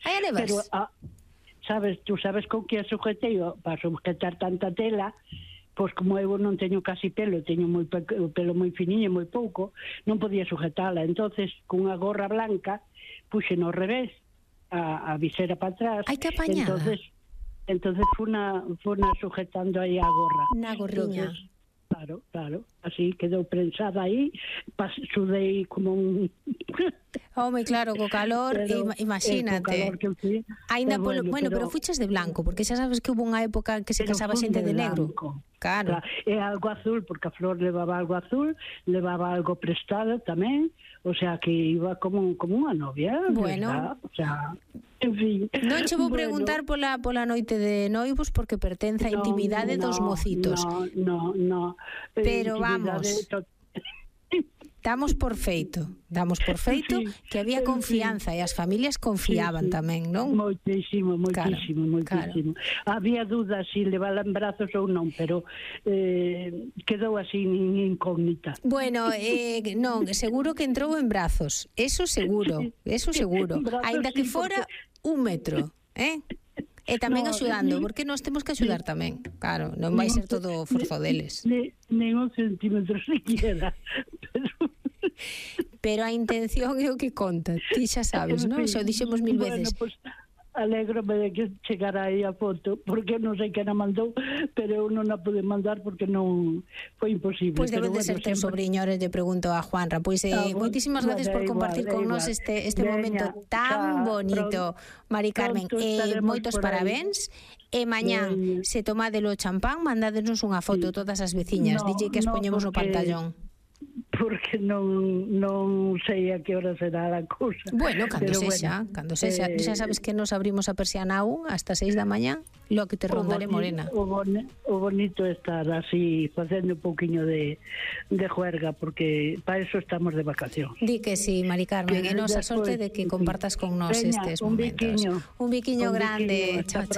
Hai a nevas. Pero, tú sabes con que a sujetei para sujetar tanta tela, pois como eu non teño casi pelo, teño o pelo moi finiño, moi pouco, non podía sujetala. Entonces, cunha gorra blanca, puxe no revés, a visera para atrás. Ai, que apañada. Entonces funa sujetando aí a gorra. Na gorriña. Entonces, claro, así quedou prensada aí, sudei como un... Home, claro, co calor, imagínate. Ainda polo, pero fuches de blanco, porque xa sabes que hubo unha época que se casaba xente de negro. Claro. E algo azul, porque a Flor levaba algo azul, levaba algo prestado tamén, o sea que iba como unha novia. Bueno. ¿verdad? O sea, en fin. Non che vou preguntar pola noite de noivos porque pertence á intimidade dos mocitos. No. Pero vamos, damos por feito que había confianza e as familias confiaban tamén, non? Moitísimo. Claro. Había dudas se levala en brazos ou non, pero quedou así incógnita. Bueno, non, seguro que entrou en brazos, eso seguro, aínda que fora 1 metro, E tamén axudando, porque nós temos que axudar tamén. Claro, non vai ser todo forzo deles. Nen un centímetro siquiera. Pero a intención é o que conta. Ti xa sabes, non? Xa o dixemos 1000 veces. Bueno, pues, alégrome de que chegara aí a foto, porque non sei quen a mandou, pero eu non a pude mandar porque non foi imposible. Pois debe de ser teu sobrinho, ahora lle pregunto a Juanra. Pois moitísimas gracias por compartir con nós este momento tan bonito, Mari Carmen. Moitos parabéns. E mañán, se tomadelo o champán, mandádenos unha foto todas as veciñas. Dille que as poñemos no pantallón. Porque non sei a que hora será a cousa. Bueno, cando sexa, xa sabes que nos abrimos a persiana aún hasta 6 da mañá, lo que te rondaré morena. O bonito é estar así facendo un pouquiño de juerga, porque para eso estamos de vacación. Di que sí, Mari Carmen, e nos a sorte de que compartas con nós estes momentos. Un biquiño grande. Chao.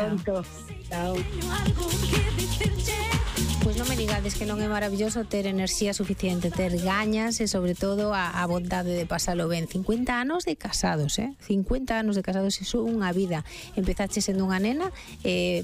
Chao. Pois non me digades que non é maravilloso ter enerxía suficiente, ter gañas e sobre todo a bondade de pasalo ben. 50 anos de casados, 50 anos de casados, iso é unha vida. Empezaste sendo unha nena,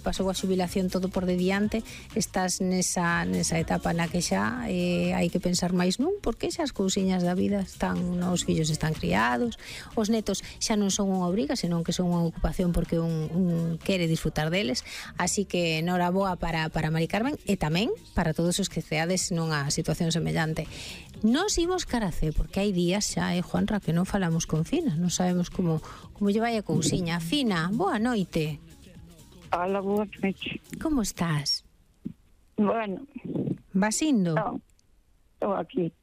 pasou a xubilación todo por de diante, estás nesa etapa na que xa hai que pensar máis nun, porque xa as cousiñas da vida os fillos están criados, os netos xa non son unha obriga, senón que son unha ocupación porque un quere disfrutar deles, así que noraboa para Mari Carmen e tamén para todos os que ceades nunha situación semellante. Nos imos caracé, porque hai días xa, Juanra, que non falamos con Fina, non sabemos como lle vai a cousiña. Fina, boa noite. Hola, boa noite. Como estás? Bueno. Vas indo? Non, estou aquí.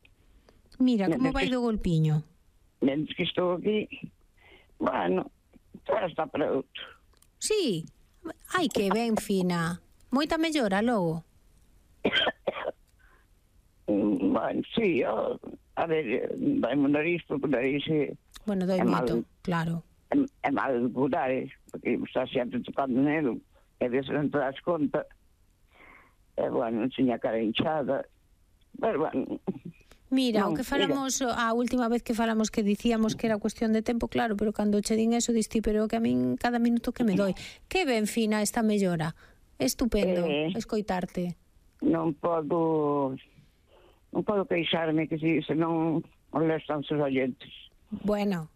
Mira, como vai do golpiño? Mentre que estou aquí, bueno, agora está para outro. Sí? Ai, que ben, Fina. Moita mellora logo? Bueno, sí, a ver, vai mo nariz, porque o nariz bueno, doi moito, claro. É mal de curar, porque está sempre tocando nele, e ves non te das conta. E, bueno, tiña a cara hinchada, pero, bueno... Mira, o que falamos a última vez que falamos que dicíamos que era cuestión de tempo, claro, pero cando che din eso, diste, pero que a min cada minuto que me doi. Que ben, Fina, esta mellora. Estupendo escoitarte. Non podo queixarme, que se non molestan os oyentes. Bueno,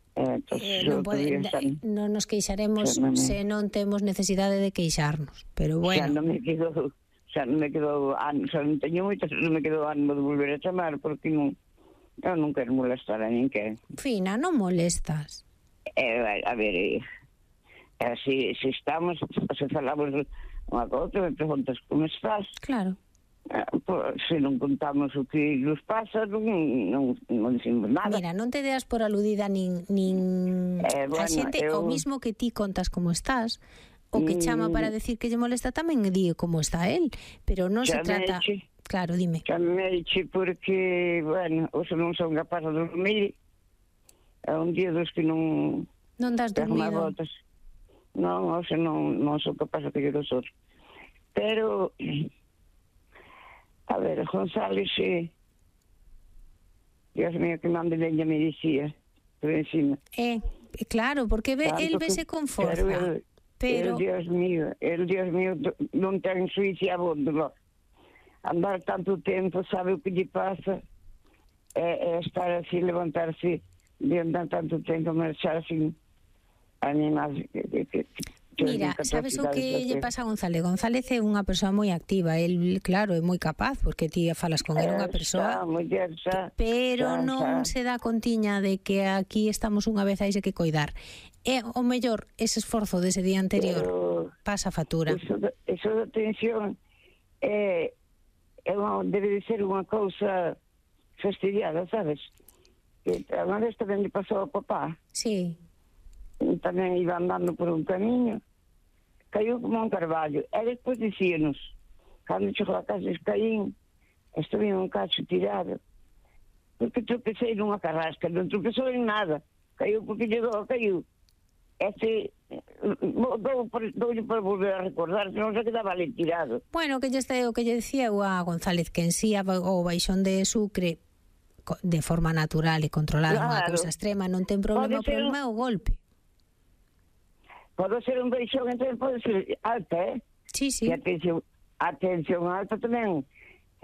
non nos queixaremos se non temos necesidade de queixarnos, pero bueno. Xa non me quedo ánimo de volver a chamar, porque eu non quero molestar a ninguén. Fina, non molestas. A ver, se estamos, se falamos unha cousa, me preguntas como estás. Claro. Se non contamos o que nos pasa, non dicimos nada. Mira, non te deas por aludida nin a xente, o mismo que ti contas como estás, o que chama para decir que lle molesta tamén di como está él, pero non se trata... Claro, dime. Chameiche porque, bueno, hoxe non son capaz de dormir, é un día dos que non... Non das dormido. Non, hoxe non son capaz de pedir os outros. Pero... A ver, González, Dios mío, que mande leña me dicía, por encima. Claro, porque el vese con forza. Pero Dios mío, non ten suício a bondo. Andar tanto tempo, sabe o que lle pasa? É estar así, levantarse de andar tanto tempo, marchar sin animais Mira, sabes o que lle pasa a González? González é unha persoa moi activa, el, claro, é moi capaz, porque ti falas con ele unha persoa, pero non se dá contiña de que aquí estamos unha vez, hai que coidar. E o mellor, ese esforzo dese día anterior pasa factura. Eso da tensión debe de ser unha cousa fastidiada, sabes? Que unha vez tamén lle pasou ao papá. Sí. Tamén iba andando por un camiño, caiu como un carballo, e despois dicíanos, cando chegou a casa caín, estuve un cacho tirado, porque tropecei nunha carrasca, non tropezou en nada, caiu porque caiu. Doulle para volver a recordar, non se quedaba ali tirado. Bueno, que o que lle decía eu a González, que en sí o baixón de Sucre de forma natural e controlada, unha cousa extrema, non ten problema, o problema é o golpe. Pode ser un baixón, entón pode ser alta, Sí, sí. E a tensión alta tamén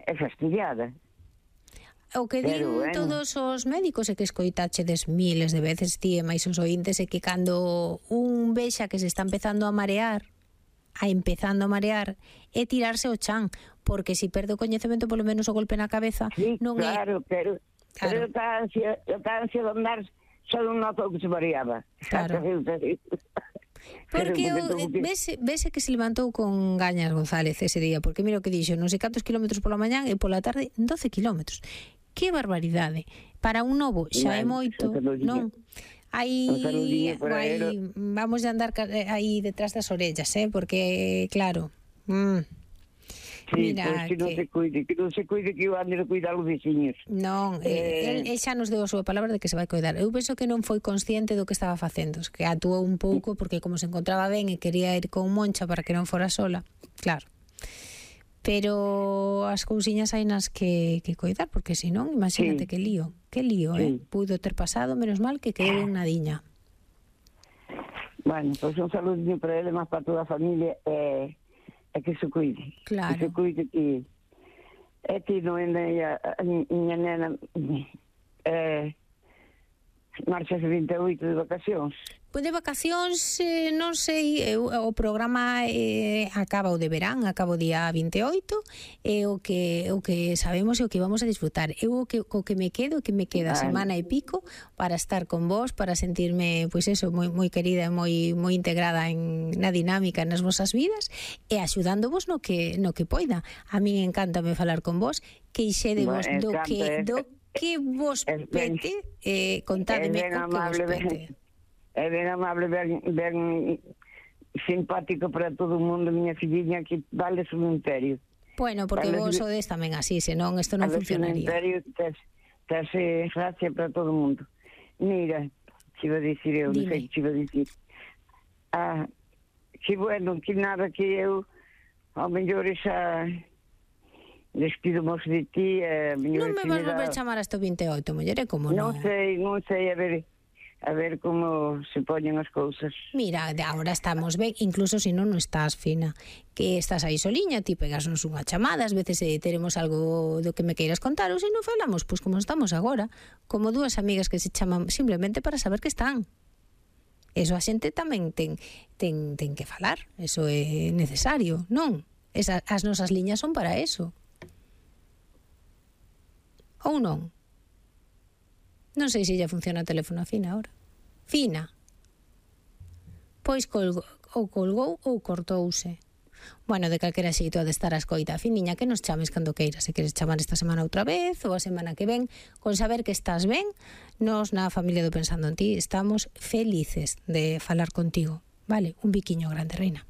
é fastidiada. O que din todos os médicos é que escoitachedes miles de veces, ti e máis os oíntes, é que cando un vexa que se está empezando a marear, é tirarse o chan, porque se perde o coñecemento, polo menos o golpe na cabeza, non é... Pero a ansia de andar só non notou que se mareaba. Claro. Porque vese que se levantou con gañas González ese día, porque mira o que dixo, non sei cantos kilómetros pola mañán e pola tarde 12 kilómetros. Que barbaridade. Para un novo xa é moito, non? Vamos a andar aí detrás das orellas, porque claro. Sí, mira, que non se cuide, que eu ande a cuidar os veciños. Non, el xa nos deu a súa palabra de que se vai cuidar. Eu penso que non foi consciente do que estaba facendo, que actuou un pouco porque como se encontraba ben e quería ir con Moncha para que non fora sola, claro. Pero as cousiñas hai nas que cuidar, porque senón, imagínate que lío, puido ter pasado, menos mal que quedou en nadiña. Bueno, pois un saludinho para ele, máis para toda a familia, é que se cuide. Claro. Que se cuide que non é a miña nena marcha de 28 de vacacións. Pois de vacacións, non sei, o programa acaba o de verán, acaba o día 28, e o que sabemos e o que vamos a disfrutar. Eu o que me queda semana e pico para estar con vos, para sentirme, pois eso, moi querida e moi integrada na dinámica nas vosas vidas, e axudándovos no que poida. A min encántame falar con vos, queixédevos do que vos pete, contádeme o que vos pete. É ben amable, ben simpático para todo o mundo, miña filliña, que vale o imperio. Bueno, porque vos sodes tamén así, senón isto non funcionaría. Imperio, terse gracia para todo o mundo. Mira, que iba a dicir eu, non sei que iba a dicir. Que bueno, que nada, que eu, ao mellor xa despido-mos de ti. Non me vas volver chamar hasta o 28, muller, como non? Non sei, a ver como se poñen as cousas. Mira, agora estamos ben, incluso se non estás fina, que estás aí soliña, ti pegasnos unha chamada, ás veces teremos algo do que me queiras contar, ou se non falamos, pois como estamos agora, como dúas amigas que se chaman simplemente para saber que están. Eso a xente tamén ten que falar, eso é necesario, non? As nosas liñas son para eso. Ou non? Non sei se ya funciona o teléfono a Fina ahora. Fina. Pois colgou ou cortouse. Bueno, de calquera xeito ha de estar a escoita. Finiña, que nos chames cando queiras. Se queres chamar esta semana outra vez ou a semana que ven, con saber que estás ben, nos na familia do Pensando en Ti estamos felices de falar contigo. Vale, un biquiño grande, reina.